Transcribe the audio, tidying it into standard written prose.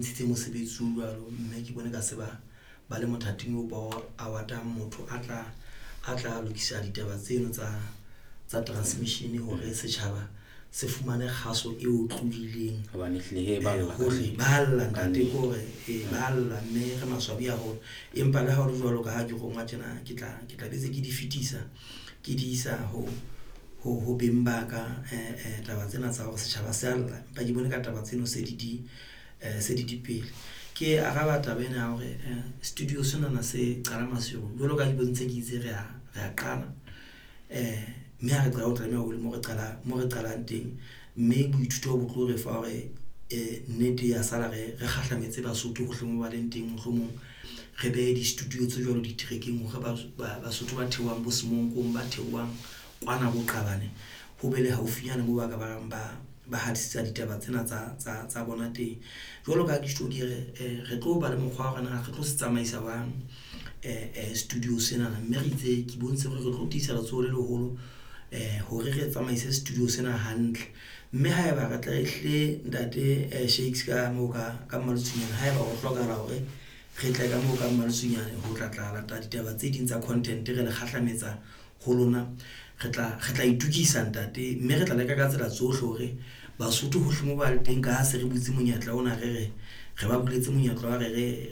Ntshitse mosebetsi o jwalo, mme ke bone ka se ba le mothating oo ba o award-ang motho a tla lokisa ditaba tseno tsa transmission hore setjhaba se fumane kgaso e otlolohileng. Hobane ehlile he ba lla. Hohle ba lla, ntate, ke hore ba lla, mme re maswabi haholo. Empa le ha ho le jwalo, ka ha ke rongwa tjena, ke tla betse ke di fetisa, ke di isa ho beng ba ka. Taba tsena tsa hore setjhaba se a lla, empa ke bone ka taba tseno se di pele. Ke araba taba ena ya hore studio sena se qala masiu jwalo ka ha ke bontshitse, ke itse re a qala, mme ha re qala ho tlameha ho le mo re qalang teng, mme boithuto bo tlo re fa hore nnete ya sala re kgahlametse Basotho hohle moo ba leng teng. Mohlomong re behe di-studio tse jwalo diterekeng hore Basotho ba theohang bo Semonkong, ba theohang kwana bo Qabane, ho be le haufinyana moo ba ka bang ba hatisetsa ditaba tsena tsa bona teng. Jwalo ka ha ke tjho, ke re tlo ba le mokgwa wa hore na re tlo se tsamaisa jwang studio sena, mme re itse ke bontshe hore re tlo tiisa letsoho le leholo hore re tsamaise studio sena hantle. Mme haeba re tla ehlile, ntate Shakes, ka moo ka Maletsunyane, haeba ho hlokahala hore re tle ka moo ka Maletsunyane ho tla lata ditaba tse ding tsa content, re le kgahlametsa ho lona, re tla itokisa, ntate, mme re tla leka ka tsela tsohle hore Basotho hohle moo ba le teng. Ka ha se re butse monyetla ona, re ba buletse monyetla wa re re.